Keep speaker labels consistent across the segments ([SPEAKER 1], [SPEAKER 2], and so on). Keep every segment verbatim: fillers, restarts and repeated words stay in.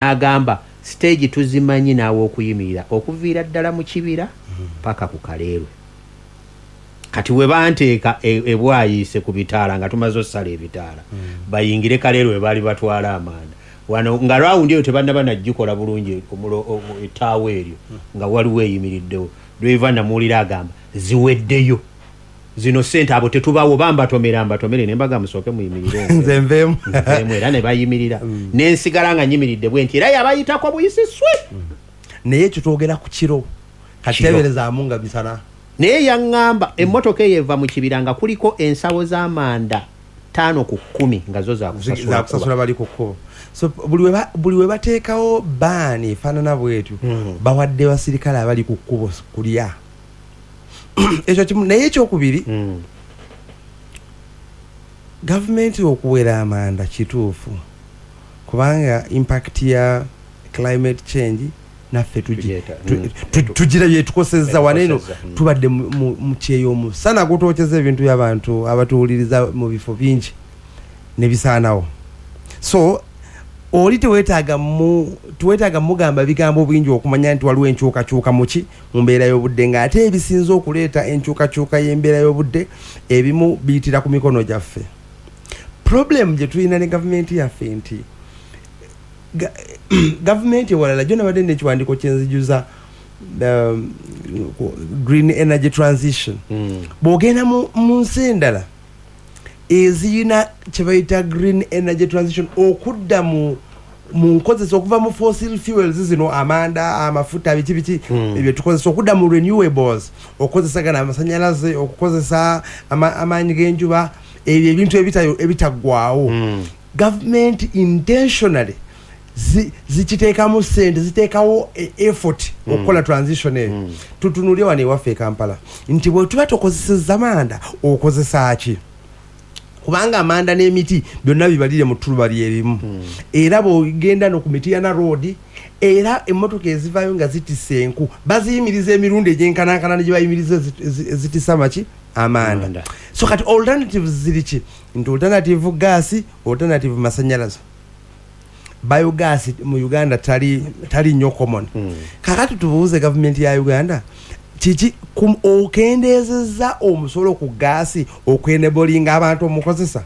[SPEAKER 1] N'agamba stage tuzimanyi naawe okuyimirira okuviira ddala mu kibira paka ku Kaleerwe. Kati we banteeka e- ebwayiise ku bitaala nga tumaze ossala ebitaala, bayingire Kaleerwe we baali batwala amanda. Wano nga rawundi eyo tebannaba nagikola bulungi, omulo- o- ettaawo eryo nga waliwo eyimiriddewo. Driver namuwulira agamba, "Ziweddeyo zino sente, abo tetubawo, bambatomera mbatomere." Ne mbaga, "Musooke muyimirire."
[SPEAKER 2] Nze nveemu.
[SPEAKER 1] Nveemu, era ne bayimirira, nensigala nga nyimiridde bwe nti, era yabayitako buyisi swi.
[SPEAKER 2] Naye ekyo twogera ku kiro, kati
[SPEAKER 1] Kiro.
[SPEAKER 2] teberezaamu nga misana.
[SPEAKER 1] Naye yaŋŋamba emmotoka eyo eva mu kibira nga kuliko ensawo z'amanda ttaano ku kkumi nga zo zakusasula.
[SPEAKER 2] Zakusasula bali ku kkubo. So buli we ba- buli we bateekawo baani efaanana bwetyo,
[SPEAKER 1] Mm.
[SPEAKER 2] bawadde basirikale abali ku kkubo kulya. Ekyo kimu. Naye ekyokubiri,
[SPEAKER 1] Mm.
[SPEAKER 2] gavumenti okuwera amanda kituufu, kubanga impact ya climate change naffe tugi-
[SPEAKER 1] Tugyeta,
[SPEAKER 2] tu-
[SPEAKER 1] mm.
[SPEAKER 2] tu- tugira byetukosezza wano eno.
[SPEAKER 1] Etukosezza, mm.
[SPEAKER 2] Tubadde mu- mu mu kyeyo, omusana gutwokeza ebintu by'abantu abatuwuliriza mu bifo bingi ne bisaanawo. So oli teweetaaga mu teweetaaga mugamba bigambo bingi okumanya nti waliwo enkyukakyuka muki mu mbeera y'obudde, ng'ate ebisinze okuleeta enkyukakyuka y'embeera y'obudde ebimu biyitira ku mikono gyaffe. Problem gye tulina ne gavumenti yaffe nti ga- gavumenti ewalala gyo nabadde nekiwandiiko kyenzijuza, um, green energy transition.
[SPEAKER 1] Mm.
[SPEAKER 2] Bw'ogenda mu mu nsi endala eziyina kye bayita green energy transition, okudda mu mu nkozesa okuva mu fossil fuels zino, amanda, amafuta, biki biki,
[SPEAKER 1] Mm.
[SPEAKER 2] ebyo tukozesa, okudda mu renewables, okukozesa gana amasanyalaze, okukozesa ama- amaanyi g'enjuba, ebyo ebintu ebitayo- ebitaggwawo,
[SPEAKER 1] Mm.
[SPEAKER 2] gavumenti intentionally zi- zikiteekamu sente, ziteekawo e- effort okukola transition eyo.
[SPEAKER 1] Mm.
[SPEAKER 2] Tutunulye wano ewaffe e Kampala nti bwe tuba tokozesezza manda, okozesa ki? Kubanga amanda n'emiti byonna bibalire mu ttuluba lyerimu. Era bw'ogenda no ku Mityana Road, era emmotoka ezivaayo nga zitisa enku baziyimiriza emirundi egyenkanankana ne gye bayimiriza ezi- ezi- ezitisa maki amanda.
[SPEAKER 1] Amanda.
[SPEAKER 2] So kati alternatives ziri ki? Nti alternative gas, alternative masanyalaze, biogas mu Uganda tali tali nnyo common.
[SPEAKER 1] Mm.
[SPEAKER 2] Kakati tubuuze gavumenti ya Uganda, kiki kum- okendeezezza omusolo ku gaasi okwenebolinga abantu omukozesa?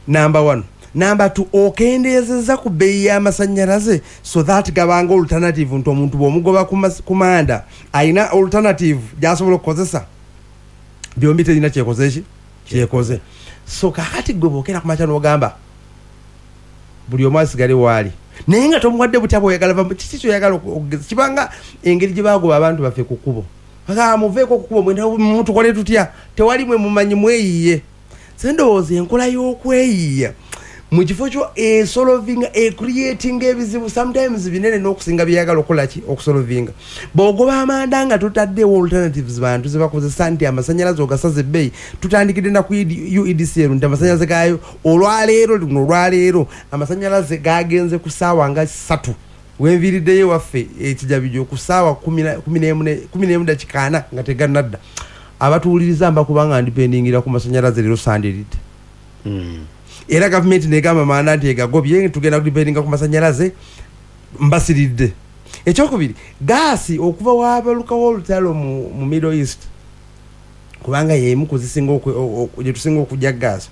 [SPEAKER 2] Number one. Number two, okendeezezza ku bbeeyi y'amasanyalaze so that gabanga alternative, nti omuntu bw'omugoba ku mas- ku manda ayina alternative gy'asobola okukozesa? Byombi terina kyekoze ki kyekoze. So kakati gwe bwokera kumakya n'ogamba buli omu asigale waali, naye nga tomuwadde butya bweyagala, va- kiki kyoyagala oku- okugeza? Kibanga engeri gye bagoba abantu baffe ku kkubo. Aga, "Muveeko ku kkubo, mwena mutukole tutya? Tewali mwe mumanyi, mweyiye." Se ndowooza enkola y'okweyiya mu kifo kyo esolovinga, ecreatinga ebizibu sometimes binene n'okusinga byeyagala okukola ki okusolovinga. Bw'ogoba amanda nga totaddewo alternatives bantu zebakozesa, nti amasanyalaze ogasaza ebbeeyi, tutandikidde na ku U E D C L nti amasanyalaze gaayo olwaleero luno, olwaleero amasanyalaze gagenze ku ssaawa nga ssatu. Wenviiriddeyo ewaffe Ekijabijo ku ssaawa kumi na- kumi n'emu ne- kumi n'emu dakika ana nga tegannadda. Abatuwuliriza mba kubanga ndipendingira ku masanyalaze leero sandiridde.
[SPEAKER 1] Mm.
[SPEAKER 2] Era gavumenti negamba manda nti egagobye, tugenda kudipendinga ku masanyalaze, mbasiridde. Ekyokubiri, gaasi okuva wabalukawo olutalo mu, mu Middle East, kubanga yemu kuzisinga oku- o- o- gye tusinga okujja gaasi.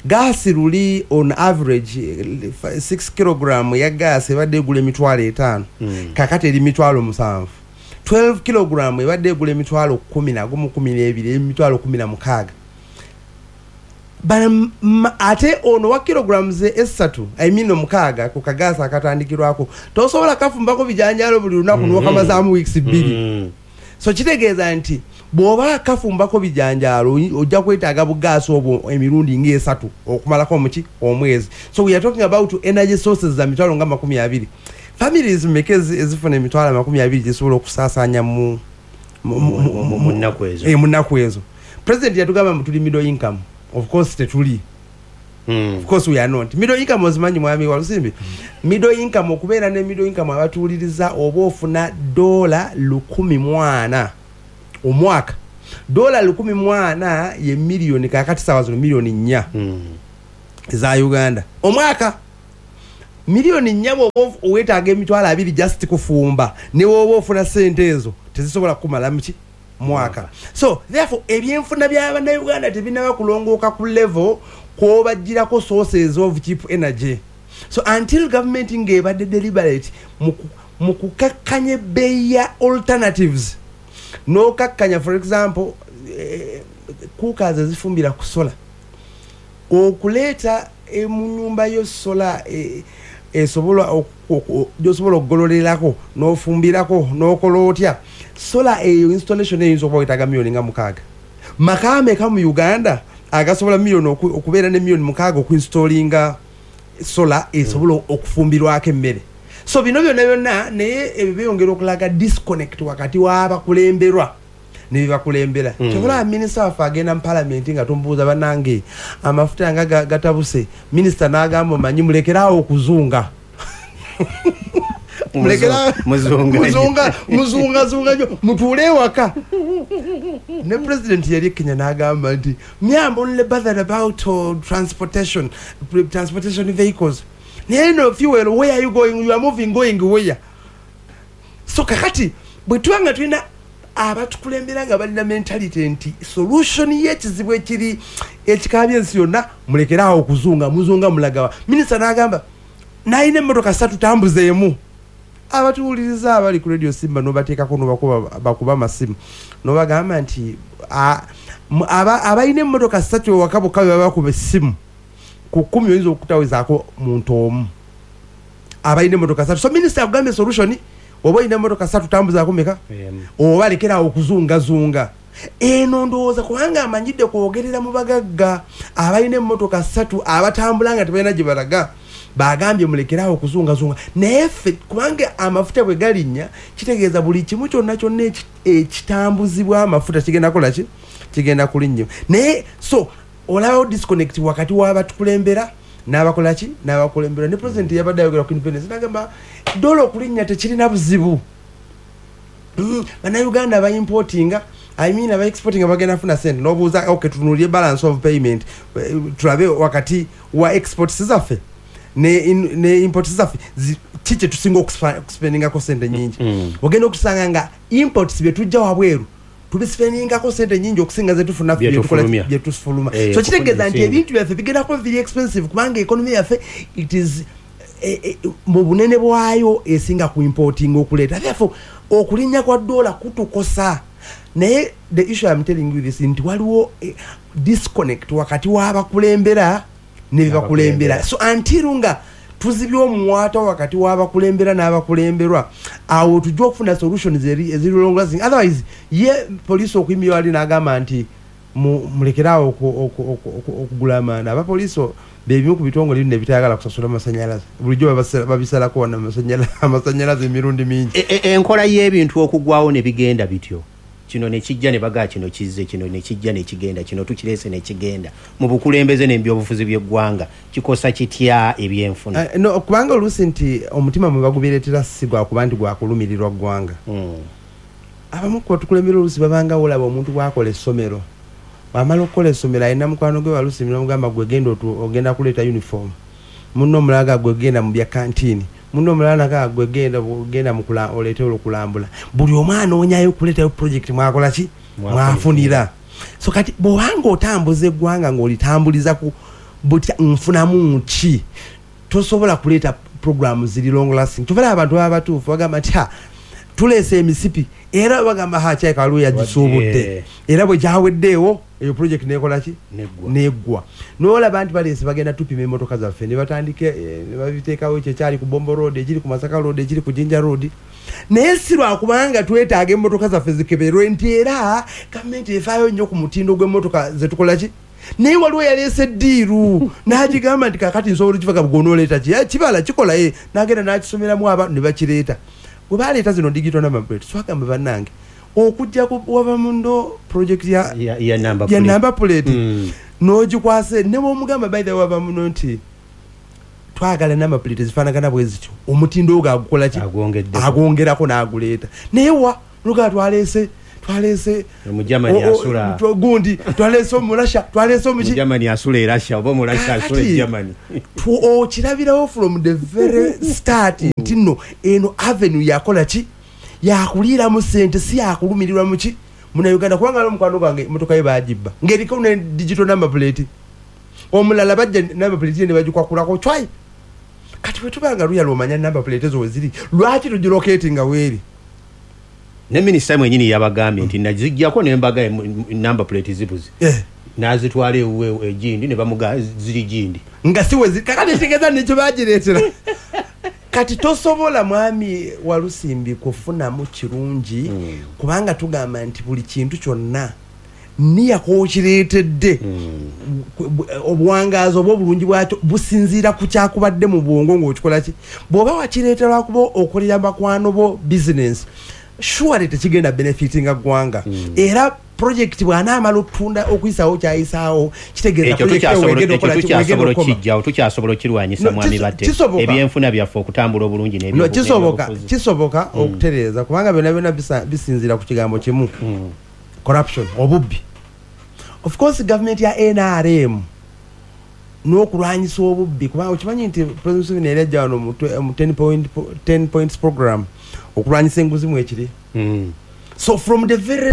[SPEAKER 2] Gaasi luli on average six kilogram ya gaasi ebadde egula emitwalo etaano.
[SPEAKER 1] Mm.
[SPEAKER 2] Kakati eri mitwalo musanvu. twelve kilogram ebadde egula emitwalo kumi nagumu, kumi n'ebiri, eri emitwalo kumi na mukaaga. Bana- ma- ate ono wa kilograms esatu, I mean omukaaga, ku kagaasi akatandikirwako tosobola kafumbako bijanjalo buli lunaku
[SPEAKER 1] Mhm.
[SPEAKER 2] nokamazaamu weeks bbiri.
[SPEAKER 1] Mm.
[SPEAKER 2] So kitegeeza nti bw'oba kafumbako bijanjaalo ojja kwetaaga bugaasi obwo emirundi ngaesatu okumalako muki omwezi. So we are talking about energy sources za mitwalo nga makumi abiri. Families meka ezi- ezifuna emitwalo amakumi abiri gisobola okusaasaanya mu mu- mu- mu-
[SPEAKER 1] Mu- mu nnaku ezo.
[SPEAKER 2] Eh, mu nnaku ezo? President yatugamba mbu tuli middle income. Of course tetuli.
[SPEAKER 1] Mm.
[SPEAKER 2] Of course we are not middle income. Ozimanyi, mwami Walusimbi, middle income, okubeera ne middle income, abatuwuliriza, oba ofuna dola lukumi mwana omwaka. Dola lukumi mwana ye miliyoni, kakati sawa zino miliyoni nnya
[SPEAKER 1] Mm.
[SPEAKER 2] eza Uganda omwaka. Miliyoni nnya bw'oba weetaaga emitwalo abiri just kufumba, ne woba ofuna sente ezo tezisobola kukumala muki mwaka. So therefore ebyenfuna by'abannayuganda tebinnaba kulongooka ku level kw'obaggyirako sources of cheap energy. So until government ng'ebadde deliberate mu kukakkanya ebbeeyi ya alternatives, n'okakkanya, for example, eh, cookers ezifumbira ku solar, okuleeta mu nnyumba yo solar esobola gyosobola okugololerako n'ofumbirako n'okola otya, solar eyo installation eyinza okuba wetaaga miliyoni nga mukaaga. Maka ameka mu Uganda agasobola miliyoni okubeera ne miliyoni mukaaga okuinstallinga solar esobola okufumbirwako emmere? So bino byonna byonna, naye ebyo byongera okulaga disconnect wakati w'abakulemberwa ne bibakulembera. mm. Kyobola minisita waffe agenda mu palamenti nga tumubuuza, bannange amafuta nga gatabuse, minisita n'agamba, omanyi, mulekeraawo okuzunga, muzunga muzungazunga nyo, mutuule ewaka. Ne president yali e Kenya n'agamba nti, me am only bothered about uh, transportation transportation vehicles, naye no fuel, where are you going? You are moving, going where? So kakati bwe tuba nga tulina abatukulembera nga balina mentality nti solution y'ekizibu ekiri ekikabye ensi yonna, mulekeraawo okuzunga, muzunga mulagawa? Minisita n'agamba nalina emmotoka ssatu, tambuzeemu. Abatuwuliriza abali ku Radio Simba nobateekako nobakuba amasimu nobagamba nti abalina emmotoka ssatu ewaka bokka be babakuba essimu ku kkumi, oyinza okutawezaako muntu omu abalina emmotoka ssatu. So minisita akugambye solution, oba olina emmotoka ssatu tambuzaako meka, oba lekerawo okuzungazunga. Eno ndowooza kubanga amanyidde kwogerera mu bagagga abalina emmotoka ssatu abatambula nga tebalina gye balaga, bagambye mulekerawo okuzungazunga. Naye ffe kubanga amafuta bwe galinnya, kitegeeza buli kimu kyonna kyonna ekitambuzibwa amafuta kigenda kola ki? Kigenda kulinnya. Naye so olabawo disconnect wakati w'abatukulembera n'abakola ki, n'abakulembera. Ne president yabadde ayogera ku independence n'agamba dola okulinnya tekirina buzibu, mm, bannayuganda abaimportinga, I mean aba exporting bagenda funa sente. Nobuuza, okay, tunuulye balance of payment, tulabe wakati wa exports zaffe ne, ne imports zaffe ki kye tusinga okuspendingako sente nyingi. mm. Ogenda okusanga nga imports bye tujja wabweru tubispendingako sente nyingi okusinga zetufuna byetufuluma. eh, so kitegeeza nti ebintu byaffe bigenda kuba very expensive kubanga economy yaffe it is eh, eh, mu bunene bwayo esinga ku importing okuleeta. Therefore okulinnya kwa dola kutukosa. Naye the issue I'm telling you this nti waliwo eh, disconnect wakati w'abakulembera ne bibakulembera. So until nga tuzibye omuwaata wakati w'abakulembera n'abakulemberwa, awo tujja okufuna solutions eziri long lasting. Otherwise ye poliisi okuyimirira wali n'agamba nti mulekeraawo okugula amanda, abapoliisi bebimu ku bitongole bino ebitayagala kusasula masanyalaze, bulijjo babisalako wano amasanyalaze emirundi mingi.
[SPEAKER 1] Enkola y'ebintu okugwawo ne bigenda bityo, kino ne kijja ne bagaa kino kizze, kino ne kijja ne kigenda, kino tukireese ne kigenda, mu bukulembeze n'ebyobufuzi by'eggwanga kikosa kitya ebyenfuna?
[SPEAKER 2] uh, no, kubanga oluusi nti omutima mwe bagubireetera si gwakuba nti gwakulumirirwa ggwanga. mm. Abamu ku batukulembera oluusi babanga olaba omuntu bw'akola essomero, bw'amala okukola essomero alina mukwano gwe waluusi nomugamba gwe genda ogenda kuleeta uniform, munno omulala gwe genda mu bya kantiini, munno omulala naga gwe genda genda mu oleete olukulambula. Buli omu anoonyayo okuleetayo project mwakola ki, mwafunira. So kati bw'obanga otambuza eggwanga ng'olitambuliza ku butya nfunamu ki, tosobola kuleeta programu ziri long lasting. Kyova abantu baba batuufu bagamba nti ha tuleese emisipi, era bagamba ha kyayika waliwo yagisuubudde, era bwe gyaweddeewo eyo project nekola ki, neggwa. N'olaba nti baleese bagenda tupima emmotoka zaffe ne batandika ne babiteekawo ekyo ekyali ku Bombo Road, ekiri ku Masaka Road, ekiri ku Jinja Road. Naye si lwakubanga twetaaga emmotoka zaffe zikeberwe nti era gavumenti efaayo nnyo ku mutindo gw'emmotoka zetukola ki. Naye waliwo yaleese eddiiru n'agigamba nti kakati nsobola okivaga bw'onooleeta ki kibala kikola ye, n'agenda n'akisomeramu abantu ne bakireeta. Bwe baleeta zino digital number plate, twagamba bannange okujja wava mundo project ya,
[SPEAKER 1] ya, ya number
[SPEAKER 2] plate, ya number plate. Mm. N'ogikwase ne bw'omugamba by the way wava muno nti twagala number plate ezifaanagana bwe zityo, omutindo ogwo agukola ki, agwongerako n'aguleeta. Naye wa lugaa twaleese Twaleese
[SPEAKER 1] Omujamani
[SPEAKER 2] o- o-
[SPEAKER 1] asula.
[SPEAKER 2] twa- gundi, twaleese Omurasha, twaleese omuki.
[SPEAKER 1] Omujamani asula e Russia oba Omurasha asula
[SPEAKER 2] Kakati,
[SPEAKER 1] e Germany.
[SPEAKER 2] tu- okirabirawo from the very start nti nno eno avenue yakola ki? Yakuliiramu sente, si yakulumirirwa muki Munauganda. Kubanga ali omukwano gwange emotoka ye bagibba ng'eriko ne digital number plate. Omulala bajja number plate ye ne bagikwakulako cwai. Kati bwe tuba nga luya lwomanya number plate ezo weziri, lwaki tugiroketi nga weeri?
[SPEAKER 1] Ne minisita mwenyini yabagambye nti nazijjako nembaga number plate zibuze.
[SPEAKER 2] Eh.
[SPEAKER 1] Nazitwala ewuwe egindi ne bamuga ziri gindi.
[SPEAKER 2] Nga si wezi. Kakati kitegeeza nekyo bagireetera. Kati tosobola, mwami Walusimbi, kufunamu kirungi,
[SPEAKER 1] Mm.
[SPEAKER 2] kubanga tugamba nti buli kintu kyonna niyako okireetedde,
[SPEAKER 1] Mm.
[SPEAKER 2] obuwangaazi oba obulungi bwakyo businziira ku kyakubadde mu bwongo ng'okikola ki. Bw'oba wakireeta lwakuba okolera bakwano bo business, surely tekigenda benefitinga ggwanga.
[SPEAKER 1] Mm.
[SPEAKER 2] Era project bw'anaamala okutunda, okuyisaawo kyayisaawo, kitegeeza
[SPEAKER 1] Ekyo
[SPEAKER 2] project eyo
[SPEAKER 1] tukyasobola
[SPEAKER 2] wegenda
[SPEAKER 1] ekyo
[SPEAKER 2] okukola ki, wegenda
[SPEAKER 1] tukyasobola
[SPEAKER 2] okukoma.
[SPEAKER 1] okukijjawo, tukyasobola okirwanyisa.
[SPEAKER 2] No,
[SPEAKER 1] Mwami
[SPEAKER 2] kiso-
[SPEAKER 1] Batte,
[SPEAKER 2] kisoboka.
[SPEAKER 1] ebyenfuna byaffe okutambula obulungi
[SPEAKER 2] No,
[SPEAKER 1] n'ebyobu-
[SPEAKER 2] kisoboka.
[SPEAKER 1] n'ebyobufuzi.
[SPEAKER 2] Kisoboka okutereeza, kubanga byonna byonna bisa- bisinziira ku kigambo kimu:
[SPEAKER 1] Mm.
[SPEAKER 2] corruption, obubbi. Of course government ya N R M n'okulwanyisa obubbi, kubanga okimanyi nti President Museveni yali ajja wano mu twe- mu ten point- ten points program, okulwanyisa enguzi mwekiri.
[SPEAKER 1] Mm.
[SPEAKER 2] So from the very